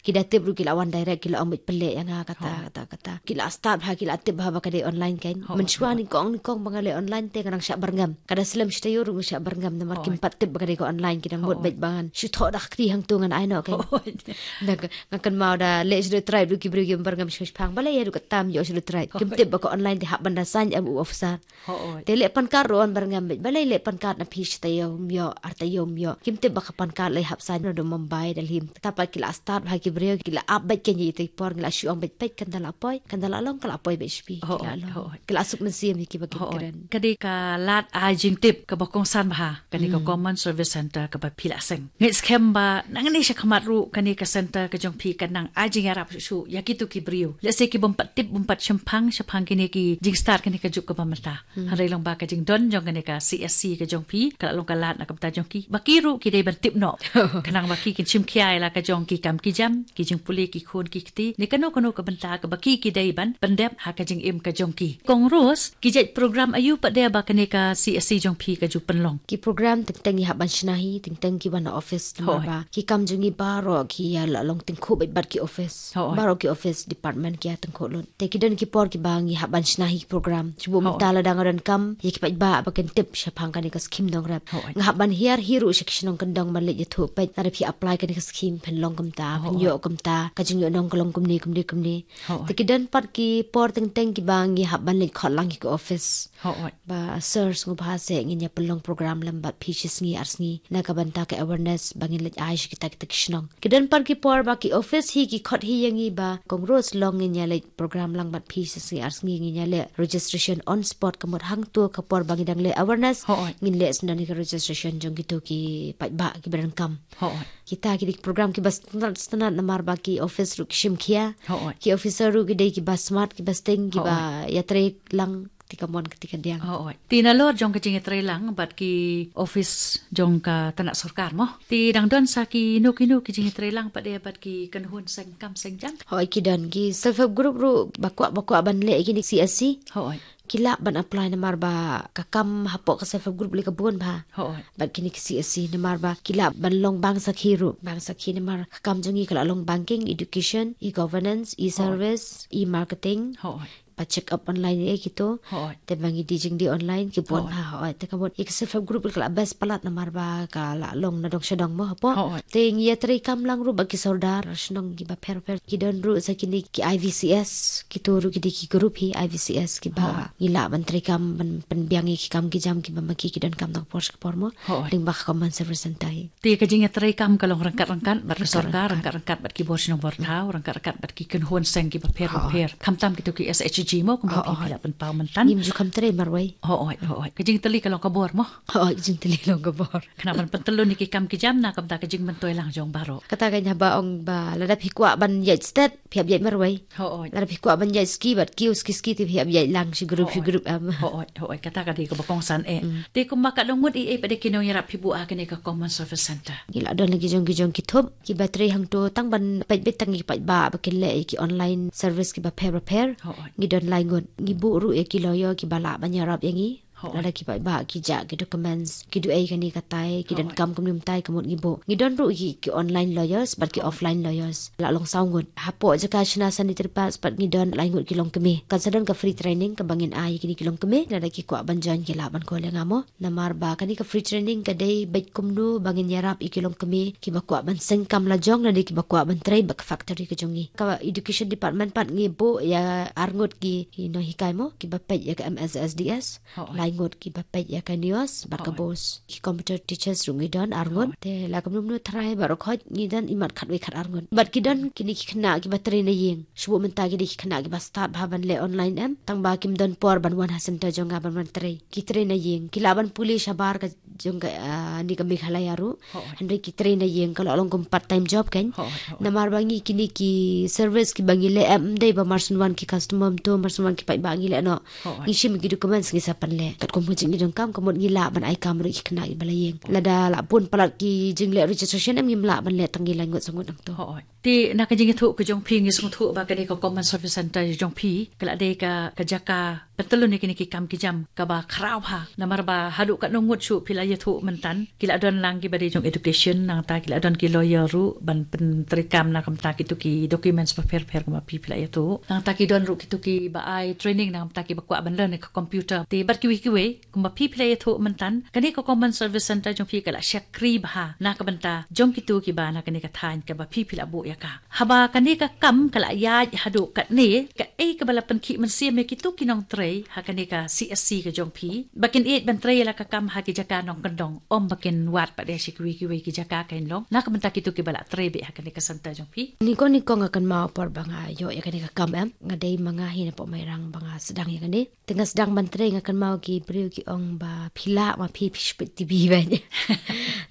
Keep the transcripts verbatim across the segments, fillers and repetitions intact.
Ki da tip ruh ki la wan direct, ki la ong beit pynleh ïa nga kata, kata, kata. Ki la start bha, ki la tip bha ba ka dei online kan. Mynshuwa nyngkong, nyngkong ba nga leh online te nga dang shah byrngem. Ka da slem shi taïew ruh nga shah byrngem namar kim pat tip ba ka dei ka online, ki dang mut beit ba ngan shu thoh da ka kti hangto ngan ai noh kan. Na ka, nga kynmaw da leh Scheduled Tribe ruh ki briew ki byrngem shipang, balei ïa ruh ka tam ïoh Scheduled Tribe. Kim tip ba ka online te hap ban da sign em u officer. Te leh pan card ruh wan byrngem beit. Balei leh pan card na phi shi taïew ym ïoh, ar taïew ym ïoh. Kim tip ba ka pan card leh hap sign na da Mumbai, Delhi. Te pat ki la start bha ki briew, ki la ap beit kan ïa itei por, ngi la shu ong beit peit kan da la poi, kan da la long, ka la poi beit shi phi, ki la long. Ki la suk mynsiem ïa kiba kren. Ka dei ka lad ai jingtip kaba kongsan bha kane ka Common Service Center kaba phi la seng. Ngeit skhem ba nangne sha khmat ruh kane ka center ka jong phi kan nang ai jingïarap shuh shuh ïa kito ki briew. Lehse ki bym pat tip, bym pat shemphang shaphang kine ki jingstad kane ka juk kaba mynta. Hynrei long ba ka jingdon jong kane ka C S C ka jong phi ka la long ka lad na ka bynta jong ki ba ki ruh ki dei ban tip noh. Khnang ba ki kin shim khia ïa la ka jong ki kam ki jam, ki jingpule ki khun ki kti, ne kano kano ka bynta kaba ki ki dei ban pyndep ha ka jingim ka jong ki. Kong Rose, ki jait program aïu pat de ba kane ka C S C jong phi ka ju pynlong? Ki program teng teng ngi hap ban shna hi, teng teng ki wan office namar ba ki kam jong ngi baroh ki ïa la long tyngkhuh beit bad ki office. Baroh ki office department ki ïa tyngkhuh lut. Te ki don ki por kiba ngi hap ban shna hi ki program. Shu buh mynta lada nga donkam ïa ki paidbah ba kin tip shaphang kane ka skim nongrep. Nga hap ban hiar hi ruh sha ki shnong kyndong ban leit ïathuh peit, lada phi apply kane ka skim phin long kumta, phin ïoh kumta, ka jingïoh nong ka long kumne kumne kumne. Te ki don pat ki por teng teng kiba ngi hap ban leit khot lang ïa ki office. Ba sir, sngewbha seh ngin ïa pynlong program lem bad phi shi sngi ar sngi na ka bynta ka awareness ba ngin leit ai sha kita kita ki shnong. Ki don pat ki por ba ki office hi ki khot hi ïa ngi ba Kong Rose, long ngin ïa leit program lang bad phi shi sngi ar sngi, ngin ïa leh registration on spot, ka mut hangto ka por ba ngi dang leh awareness ngin leh sngewdon ïa ka registration jong kito ki paidbah kiba donkam. Kita ki dei ki program kiba sngewtynnat sngewtynnat namar ba ki office ruh ki shim khia. Ki officer ruh ki dei kiba smart, kiba sting, kiba ïatrei lang kti kamon kti kadiang. Te nalor jong ka jingïatrei lang bad ki office jong ka tnat sorkar mo, te dang don sa kino kino ki jingïatrei lang pat de bad ki kynhun seng kam seng jam? Hooid, ki don ki self help group ruh ba kwah ba kwah ban leh kine C S C. Ki lah ban apply namar ba ka kam hapoh ka self help group leh ka bun bha. Bad kine ki C S C namar ba ki lah ban long bank sakhi ruh, bank sakhi namar ka kam jong ngi ka la long banking, education, e-governance, e-service, e-marketing, ba check up online eh kito. Te ba ngi die jingdie online ki bun bha. Te ka mut ïa ka self help group ka la best palat namar ba ka la long na dong sha dong mo hapoh. Te ngi ïatrei kam lang ruh bad ki sordar shnong kiba pher pher, ki don ruh sa kine ki I V C S, kito ruh ki dei ki group hi I V C S kiba ngi lah ban trei kam ban pynbiang ïa ki kam ki jam kiba ma ki ki donkam na ka por sha ka por mo. Lyngba ka Common Service Center hi. Te ka jingïatrei kam ka long ryngkat ryngkat bad ka sorkar, ryngkat ryngkat bad ki bor shnong bor thaw, ryngkat ryngkat bad ki kynhun seng kiba pher bapher. Khamtam kito ki S H G mo kumba phi la pynpaw mynta. Ngim ju kham trei marwei. Hooid, hooid. Ka jingtylli ka long ka bor mo. Hooid, ka jingtylli long ka bor. Khnang ban pyntyllun ïa ki kam ki jam na ka bynta ka jingmyntoi lang jong baroh. Kata ka haba ong ba lada phi kwah ban ïaid stet phi hap ïaid marwei. Lada phi kwah ban ïaid ski bad kiew ski ski te phi hap ïaid lang shi group shi group em. Hooid, hooid, kata ka dei kaba kongsan eh. Te kumba ka don ngut ei ei pat de ki nongïarap phi buh ha kane ka Common Service Center? Ngi la don la ki jong ki jong ki thup kiba trei hangto tang ban peit beit tang ïa ki paidbah ba kin leh ïa ki online service kiba pher bapher. Ngi don lai ngut, ngi buh ruh ïa ki lawyer kiba lah ban ïarap ïa ngi. Lada ki paidbah ki jah ki documents, ki duh ei kane katai, ki donkam kumne kumtai, ka mut ngi buh. Ngi don ruh ki, ki online lawyers bad ki offline lawyers. La long saw ngut. Hapoh jaka shna sanitary pads pat ngi don lai ngut ki longkmie. Kan sa don ka free training kaba ngin ai kine ki longkmie, lada ki kwah ban join ki lah ban call ïa nga mo. Namar ba kane ka free training ka dei beit kumno ba ngin ïarap ïa ki longkmie kiba kwah ban seng kam lajong lane kiba kwah ban trei bad ka factory ka jong ngi. Ka education department pat ngi buh ïa ar ngut ki, ki nonghikai mo, kiba peit ïa ka M S S D S. Lai ngut kiba peit ïa ka NEOS bad ka BOSE. Ki computer teachers ruh ngi don ar ngut. Te la kumno kumno tharai baroh khoit ngi don imat khatwei khat ar ngut. Bad ki don kine ki khynnah kiba trei na ïing. Shu buh mynta ki dei ki khynnah kiba stad bha ban leh online em, tang ba kim don por ban wan ha center jong nga ban wan trei. Ki trei na ïing, ki lah ban pule shabar ka jong ka, ah, ne ka Meghalaya ruh. Hynrei ki trei na ïing, ka la long kum part time job kan. Namar ba ngi kine ki service kiba ngi leh em, ym dei ba mar shu wan ki customer mynta mar shu wan ki paidbah ngi leh noh. Ngi shim ki documents ngi sa pynleh. Katkum ka jingïadonkam ka mut ngi lah ban ai kam ruh ïa ki khynnah kiba la ïing. Lada la bun palat ki jingleh registration em, ngim lah ban leh tang ngi lai ngut saw ngut nangto. Te na ka jingïathuh ka jong phi ngi sngewthuh ba kane ka Common Service Center jong phi ka la dei ka, ka jaka Tylli ne kine ki kam ki jam kaba khraw ha. Namar ba haduh katno ngut shuh phi la ïathuh myntan. Ki la don lang kiba dei jong education, nangta ki la don ki lawyer ruh ban pyntreikam na ka bynta kito ki documents bapher bapher kumba phi phi la ïathuh. Nangta ki don ruh kito kiba ai training na ka bynta kiba kwah ban learn ka computer. Te bad kiwei kiwei kumba phi phi la ïathuh myntan. Kane ka Common Service Center jong phi ka la shakri bha na ka bynta jong kito kiba na kane ka thaiñ kaba phi phi la buh ïa ka. Haba kane ka kam ka la ïaid haduh katne, kaei kaba la pynkhih mynsiem ïa kito ki nongtrei ha kane ka C S C ka jong phi ba kin ïeit ban trei ïa la ka kam ha ki jaka nongkyndong, ym ba kin wad pat de sha kiwei kiwei ki jaka kein long, na ka bynta kito kiba la trei beit ha kane ka center jong phi? Nyngkong nyngkong nga kynmaw por ba nga ïoh ïa kane ka kam, em, nga dei ma nga hi napoh Mairang ba nga sdang ïa kane. Te nga sdang ban trei, nga kynmaw ki briew ki ong ba phi lah ma phi phi shu peit T V beit.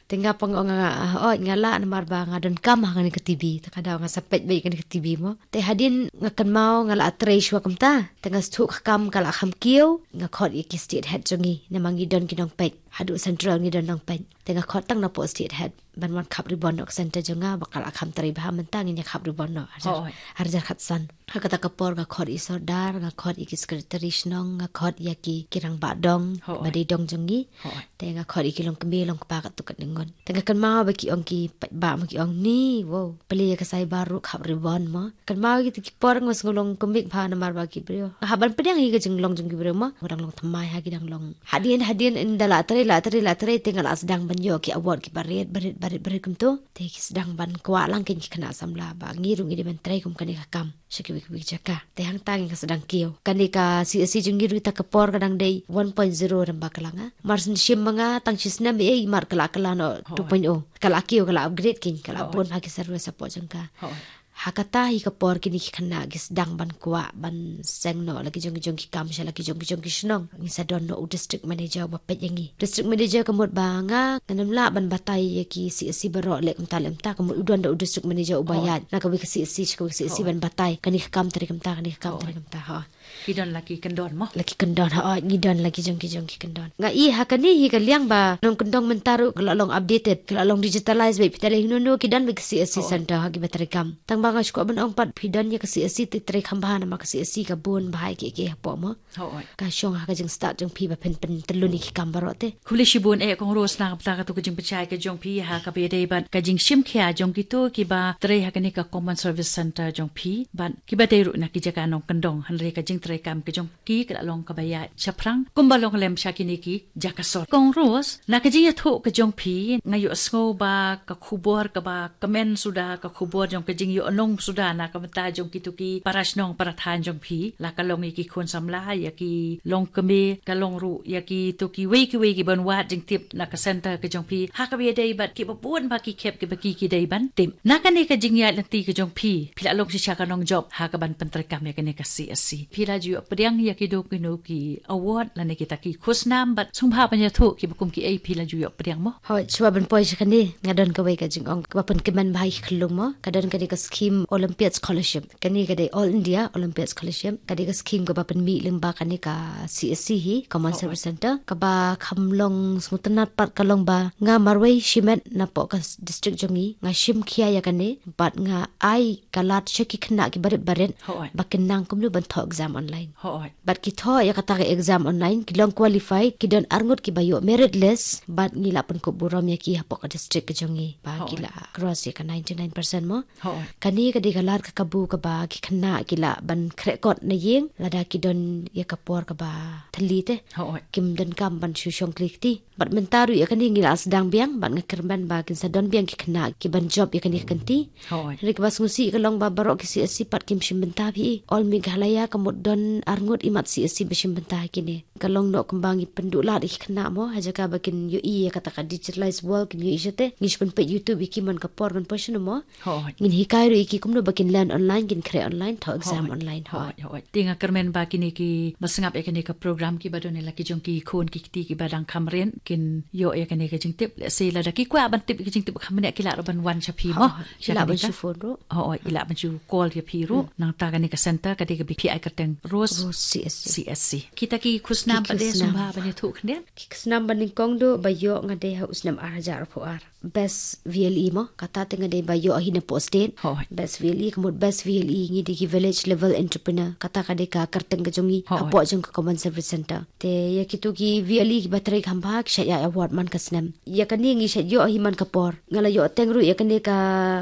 Te nga pang ong nga, ah, oh, nga lah namar ba nga donkam ha kane ka T V. Te ka daw nga sa peit beit kane ka T V mo. Te hadien nga kynmaw nga la trei shuwa kumta. Te nga sdang ka kam ka la kham kiew, nga khot ïa ki state head jong ngi, namar ngi don ki nongpeit. Haduh central ngi don nongpeit. Te nga khot tang napoh state head ban wan khap ribbon noh ka center jong nga, ba ka la kham trei bha mynta, ngin ïa khap ribbon noh. Arhajar, oh, arhajar khatsan. Ha kata ka por nga khot ïa i sordar, nga khot ïa ki secretary shnong, nga khot ïa ki, ki rangbah dong, oh, ba dei dong jong ngi. Oh. Te nga khot ïa ki longkmie longkpa katto katne ngut. Te nga kynmaw ba ki ong ki paidbah mo, ki ong ni, wow, plie ïa ka cyber ruh khap ribbon mo. Kynmaw ïa kito ki por nga sngew long kumne bha namar ba ki briew. Hap ban pdiang ïa ka jinglong jong ki briew mo. Nga dang long thymmai ha ki dang long. Hadien hadien ynda la trei la trei la trei te nga la sdang ban ïoh ki award kiba rit ba rit ba rit ba rit kumto. Te ki sdang ban kwah lang kein ki khynnah samla ba ngi ruh ngi dei ban trei kum kane ka kam sha kiwei kiwei ki jaka. Te hangta ngi ka sdang kiew. Kane ka C S C jong ngi ruh kata ka por ka dang dei one point zero rem ba ka la nga. Mar shen shim ma nga tang shi snem ei, mar ka la ka la noh, oh, two point oh. Ka la kiew, ka la upgrade kein, ka la, oh, bun ha ki service hapoh jong ka. Oh. Ha kata hi ka por kine ki khynnah ki sdang ban kwah ban seng noh la ki jong ki jong ki kam sha la ki jong ki jong ki shnong. Ngi sa don noh u district manager uba peit ïa ngi. District manager ka mut ba nga ngam lah ban batai ïa ki C S C baroh leh kumta leh kumta, ka mut u don da u district manager uba, oh, ïaid na kawei ka C S C sha kawei ka C S C, oh, ban batai kane ka kam trei kumta, kane ka kam, oh, trei kumta, ha. Ki don la ki kyndon mo? La ki kyndon, ha, oh, ngi don la ki jong ki jong ki kyndon. Nga i ha kane hi ka liang ba nongkyndong mynta ruh ka la long updated, ka la long digitalized beit, phi ta leh hi no no ki don beit ka C S C, oh, center ha kiba trei kam. Tang ba nga shu kwah ban ong pat phi don ïa ka C S C te trei kham bha namar ka C S C ka bun bha ïa kiei kiei hapoh mo. Oh, oh. Ka shong ha ka jingstad jong phi ba phin pyntyllun ïa ki kam baroh te. Khublei shibun eh Kong Rose na ka bynta kato ka jingpynshai ka jong phi ha kaba ïadei bad ka jingshim khia jong kito kiba trei ha kane ka Common Service Center jong phi bad kiba dei ruh na ki jaka nongkyndong, hynrei ka jingtrei kam ka jong ki ka la long kaba ïaid shaphrang kumba long lem sha kine ki jaka sor. Kong Rose, na ka jingïathuh ka jong phi nga ïohsngew ba ka khubor kaba kmen suda, ka khubor jong ka jingïohnong suda na ka bynta jong kito ki para shnong para thaiñ jong phi, la ka long ïa ki khun samla, ïa ki longkmie, ka long ruh ïa kito kiwei kiwei kiban wad jingtip na ka center ka jong phi ha kaba ïadei bad kiba bun ba ki khep kiba ki ki dei ban tip. Na kane ka jingïaid lynti ka jong phi, phi la long shisha ka nongjop ha kaban pyntreikam ïa kane ka C S C. Phi la ju ïoh pdiang ïa kino kino ki award lane kita ki khusnam bad sngewbha ban ïathuh kiba kum kiei phi la ju ïoh pdiang mo? Hooid, shuwa ban poi sha kane nga don kawei ka jingong kaba pynkmen bha ïa ki khyllung mo. Ka don kane ka scheme Olympiad Scholarship. Kane ka dei All India Olympiad Scholarship. Ka dei ka scheme kaba pynmih lyngba kane ka C S C hi, Common, oh, Service Center, kaba kham long sngewtynnat pat ka long ba nga marwei shimet napoh ka s-, district jong ngi nga shim khia ïa kane bad nga ai ka lad sha ki khynnah kiba rit ba rit, hooid, ba kin nang kumno ban thoh exam online. Hooid. Bad ki thoh ïa kata ka exam online, ki long qualified, ki don arngut kiba ïoh merit list, bad ngi la pynkup burom ïa ki hapoh ka district ka jong ngi ba ki, hooid, la cross ïa ka ninety-nine percent mo. Hooid. Kane ka dei ka lad ka kabu kaba ki khynnah ki lah ban khreh kot na ïing lada ki don ïa ka por kaba thylli te. Hooid. Kim donkam ban shu shong kli kti. Bad mynta ruh ïa kane ngi la sdang biang bad nga kyrmen ba kin sa don biang ki khynnah kiban jop ïa kane ka kynti. Hooid. Hynrei kaba sngewsih ka long ba baroh ki C S C pat kim shim bynta phi. All Meghalaya ka mut don arngut imat C S C ba shim bynta ha kine. Ka long noh kumba ngi pynduh lad ïa ki khynnah mo, ha jaka ba kin ïohi ïa kata ka digitalized world, kin ïohi shate. Ngi shu pynpeit YouTube ïa ki man ka por kan poi shano mo. Hooid. Ngin hikai ruh ïa ki kumno ba kin learn online, kin khreh online, thoh exam, hooid, online. Hooid, hooid. Te nga kyrmen ba kine kiba sngap ïa kane ka program, kiba don ïa la ki jong ki khun ki kti kiba dang kham rit, kin ïoh ïa kane ka jingtip. Lehse lada ki kwah ban tip ïa ka jingtip kham bniah ki lah ruh ban wan sha phi mo. Hooid. Ki lah ban shu phone ruh. Hooid, ki lah ban shu call ïa phi ruh. Hmm. Nangta kane ka center ka dei kaba phi ai kyrteng Rose, Rose C S C. C S C. Kita ki khusnam pat de, khusnam, sngewbha ban ïathuh khyndiat. Ki khusnam ba nyngkong duh ba ïoh nga dei ha u snem ar hajar arphew ar. Best V L E mo, kata te nga dei ba ïoh hi na poh state. Hooid. Best V L E, ka mut best V L E ngi dei ki village level entrepreneur. Kata ka dei ka kyrteng ka jong ngi, Hooid. hapoh jong ka Common Service Center. Te ïa kito ki V L E kiba trei kham bha ki shait ïa award man ka snem. Ïa kane ngi shait ïoh hi man ka por. Nga la ïoh teng ruh ïa kane ka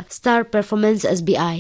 Star Performance S B I.